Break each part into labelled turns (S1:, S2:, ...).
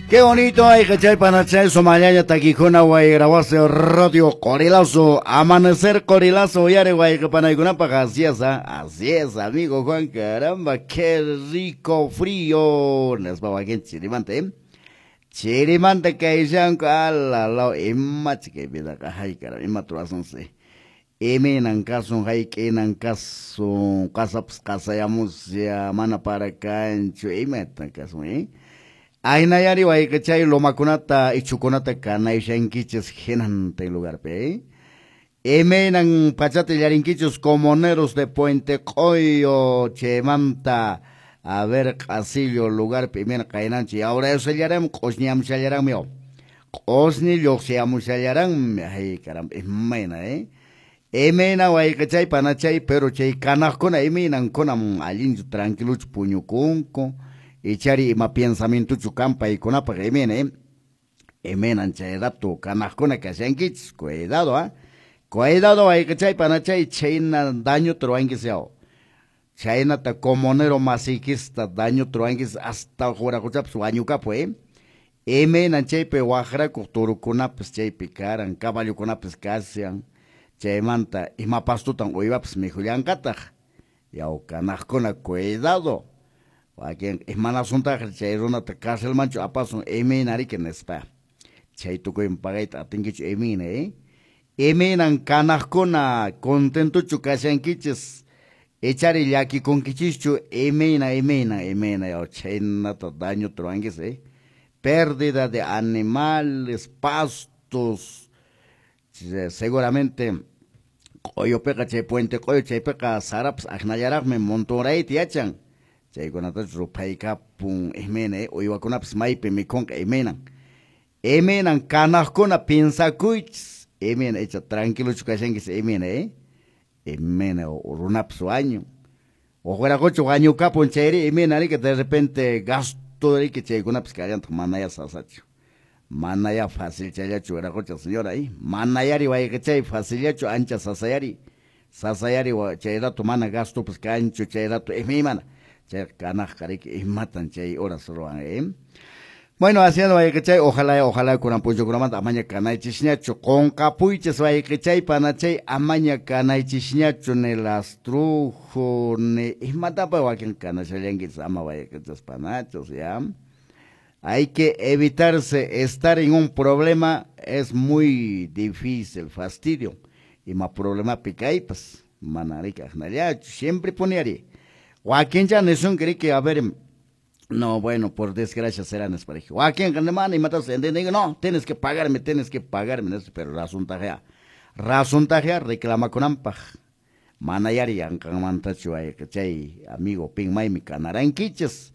S1: Qué bonito hay que chay panachay somañaña taquijuna guaygrahuase radio Qorilazo, amanecer Qorilazo, yare guayqpanaykunapaq, así es, amigo Juan, caramba, qué rico frío, nespa wakin chirimanta, ¿eh? Chirimanta kayshanku, ala law, imachi kay vidaqa, hay caramba, ima turasunsi, imaynan kasun, hayk'inan kasun, qasapas qasayamusya, mana para kanchu, imatan kasun, ¿eh? Aynayari wayqichay lomakunata ichukunata kanayshankichis hinantin lugarpi, ¿eh? Imaynan pachata illarinkichis comuneros de Puente Q'oyo chaymanta a ver q'asillo lugarpi imayna qaynanchik yawrayushallaranmi q'usñiyamushallaranmi q'usñi lluqsiyamushallaranmi ay caramba imayna, ¿eh? Imayna wayqichay panachay pero chay kanaqkuna imaynankuna allinchu tranquiluchu puñukunku ichari ima pensamientochu kan paykunapaq imayna, ¿eh? Imaynan chay rato kanaqkuna kashankichis, cuidado, ¿ah? Cuidado wayqichay panachay chayna dañuta ruwankichis yaw. Chaynata comunero masiykista dañuta ruwankichis hasta wiraquchapas wañukapu, ¿eh? Imaynan chaypi waqrakuq turukunapas chaypi karan, caballokunapas kashan, chaymanta ima pastutan uywapas mikhullanqataq. Yaw kanaqkuna cuidado. Wakin imanasuntaq chay runata carcelmanchu apasun imayna riki nispa. Chay tukuyman pagayta atinkichu imayna, ¿eh? Imaynan kanaqkuna contentochu kashankichis ichari llakikunkichischu imayna imayna imayna yaw chaynata dañuta ruwankichis, ¿eh? Pérdida de animales, pastos, seguramente q'uyupiqa chay Puente Q'uyu chaypiqa sarapas aqnallaraqmi montonrayta yachan. Chaykunatachu ruphaykapun imayna, ¿eh? Uywakunapas maypi mikhunqa imaynan. Imaynan kanaqkuna piensakuychis imayna icha tranquilochu kashankichis imayna, ¿eh? Imayna runapas wañun. Uqwiraquchu wañukapun chayri imayna riki de repente gasto riki chaykunapas kallantaq manaya sasachu. Manaya fácil challachu wiraqucha señora, ¿eh? Manayari wayqichay facillachu ancha sasayari. Sasayari chay rato mana gastopas kanchu chay rato imaymana. Chay kanaqqa riki imatan chay horas ruwan, ¿eh? Bueno, haciendo wayqichay, ojalá, ojalá kunan p'unchawkunamanta amaña kanaychisñachu, qunqapuychis wayqichay panachay amaña kanaychisñachu ni lastrujo ni imatapas wakin kanashallankichis ama wayqichas panachos, ya. Hay que evitarse estar en un problema, es muy difícil, fastidio. Ima problemapi kaypas, mana riki aqnallachu, siempre poniari. Wakincha nisunki riki, a ver, no, bueno, por desgracia será nespareja. Wakinqa mana imatas entienden, no, tienes que pagarme, pero razontajea. Razontajea reclamakunanpaq. Mana yari yanqanmantachu wayqichay, amigo, pin maymi kanarankichis.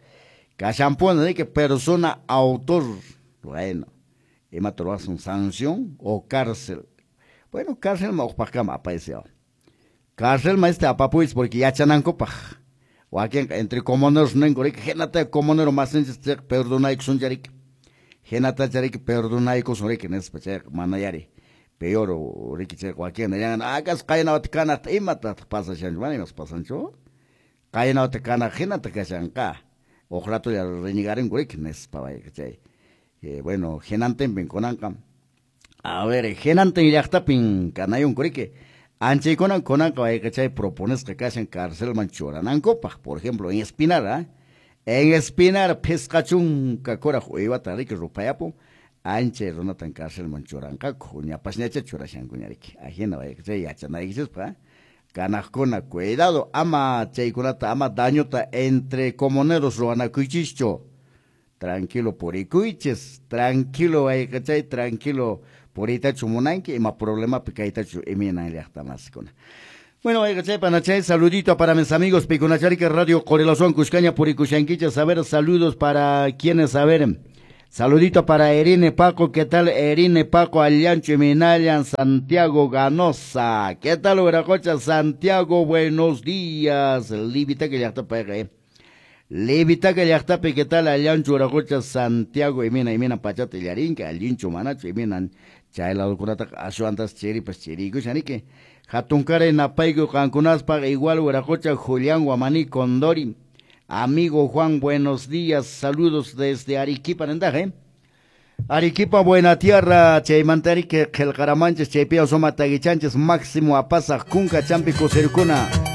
S1: Kashanpuna riki persona autor, bueno, imata ruwasun sanción o cárcel. Bueno, cárcel ma uqpaqkama apaysiyaw. Cárcel ma este apapuychis porque yachanankupaq. Wakinqa entre comuneros ninku riki, hinata comunero masinchis chayqa perdonaykusuncha riki. Hinatacha riki perdonaykusun riki nispa chayqa mana yari. Peor riki chayqa wakin nillan, acaso qaynawata kanaqta imatataq pasashanchu, mana imas pasanchu. Qaynawata kanaq hinata kashanqa. Uq ratolla renegarinku riki nispa wayqa chay. Bueno, hinantinpin kunanqa. A ver, hinantin llaqtapin kanayunku riki. Anchaykunan kunanqa wayqichay proponesqa kashan carcelman churanankupaq, por ejemplo, en Espinar, ¿eh? En Espinar phisqa chunka kuraq uywata riki ruphayapun, anchay runatan carcelman churanqaku, ñapasñacha churashankuña riki. Ajina wayqichay yachanaykichispaq, ¿eh? Kanaqkuna, cuidado, ama chaykunata, ama dañuta entre comuneros ruwanakuychischu. Tranquilo purikuychis, tranquilo wayqichay, tranquilo puritachu munanki, ima problemapi kaytachu imaynan llaqtamasikuna. Bueno, wayqichay panachay, saludito para mis amigos Picunacharika Radio Qorilazowan kushkaña purikushankichis. A ver, saludos para quienes, a ver, saludito para Erine Paco, ¿qué tal? Erine Paco, Allancho Minallan, Santiago Ganosa, ¿qué tal, Huiracocha? Santiago, buenos días. Livitaca llaqtapi, ¿eh? Livitaca llaqtapi, ¿qué tal? Allancho Huiracocha, Santiago, imina, imina, pachata illarinka, allincho manacho, iminan, Chay ladukunataqa ashwantas chiripas chiriykushan riki. Hatunkaray napayku qankunaspaq igual wiraqocha Julián Guamaní Condori. Amigo Juan, buenos días, saludos desde Arequipa, nintaq, ¿eh? Arequipa, buena tierra, chaymanta riki qillqaramanchis, chaypiwan suma takichanchis Máximo Apasaq kunka champi kusirkuna.